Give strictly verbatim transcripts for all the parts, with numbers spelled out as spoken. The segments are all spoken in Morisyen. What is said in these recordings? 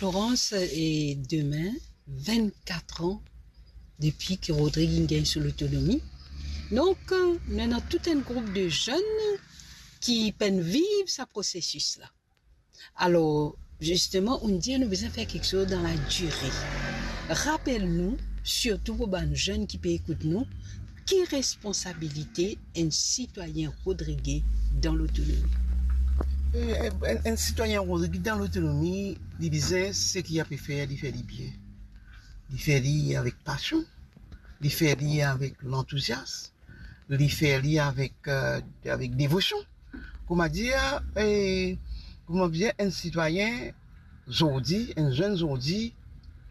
Florence, e demin, vennkat an depi ki Rodrig inn gagn so lotonomi. Donk, nou ena tou enn group de zenn ki pa'nn viv sa prosesis la. Alor, zisteman, ou'nn dir nou bizin fer kiksoz dan la dire. Rapel nou, sirtou pou bann zenn ki pe ekout nou, ki responsabilite enn sitwayin rodrige dan lotonomi? E, e, enn, enn sitwayin rodrige dan lotonomi, li bizin seki li pe fer, li fer li bien. Li fer li avek pasion, li fer li avek lantouzias, li fer li avek, e, avek devosion. Kouma dir, e, kouma dir, enn sitwayin zordi, enn zenn zordi,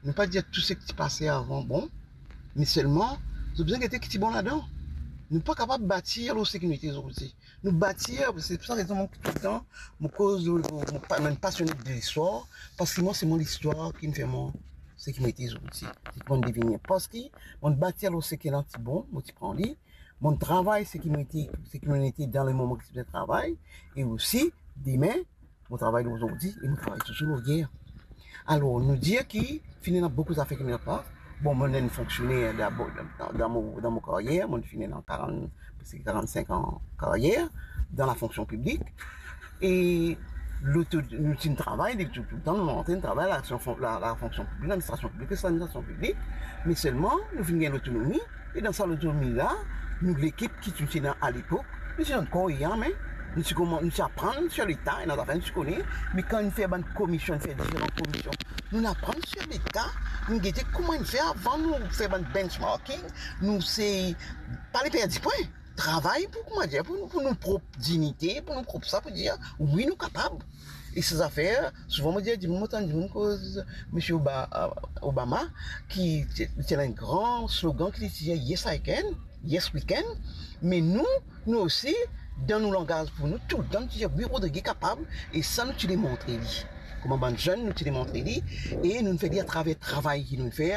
nou pa dir tou seki ti pase avan bon, me selman, zot bizin gete ki ti bon ladan. Nou pa kapav batir lor seki nou ete zordi. Nou batir, se pou sa rezon mwa toultan, mo koz, mo, mo pa, mo enn pasione de listwar, parski mwa, se mo listwar ki'nn fer mwa seki mo ete zordi, seki mo'nn devini. Parski mo'nn batir lor seki ena ti bon, mo ti pran li, mo'nn travay seki mo ete, seki mo ete dan le moman ki ti bizin travay, e osi, demin, mo travay lor zordi e mo travay touzour lor yer. Alor, nou dir ki finn ena boukou zafer ki met an plas. Bon, mo enn fonksioner dabor dan, dan mo, dan mo karyer, mo finn ena karant, preske karant-sink an karyer dan lafonksion piblik. E loto, nou ti travay, depi tou, toultan, nou antrenn travay la, la, lafonksion piblik, ladministrasion piblik, ladministrasion piblik. Me selman, nou finn gagn lotonomi, e dan sa lotonomi la, nou lekip ki ti ena alepok, nou ti dan kor e lam, nou ti kouma, nou ti aprann sir Leta, ena zafer nou ti kone, me kan nou fer bann komision, nou fer diferan komision, nou aprann sir Leta, nou gete kouma nou fer avan, nou fer bann benchmarking, nou se pa le perdi pwin. Travay pou, kouma dir, pou nou, pou nou prop dignite, pou nou prop sa, pou dir, wi, nou kapav. E sa zafer, souvan mo dir dimoun, mo tann dimoun koz Misie Oba-, Obama, ki ti, ti ena enn gran slogan ki li ti dir, "Yes, I can, yes, we can." Me nou, nou osi, dan nou langaz pou nou, toultan nou ti dir, "Wi, Rodrig kapav," e sa nou ti demontre li. Kouma bann zenn, nou ti demontre li, e nou fer li atraver travay ki nou fer,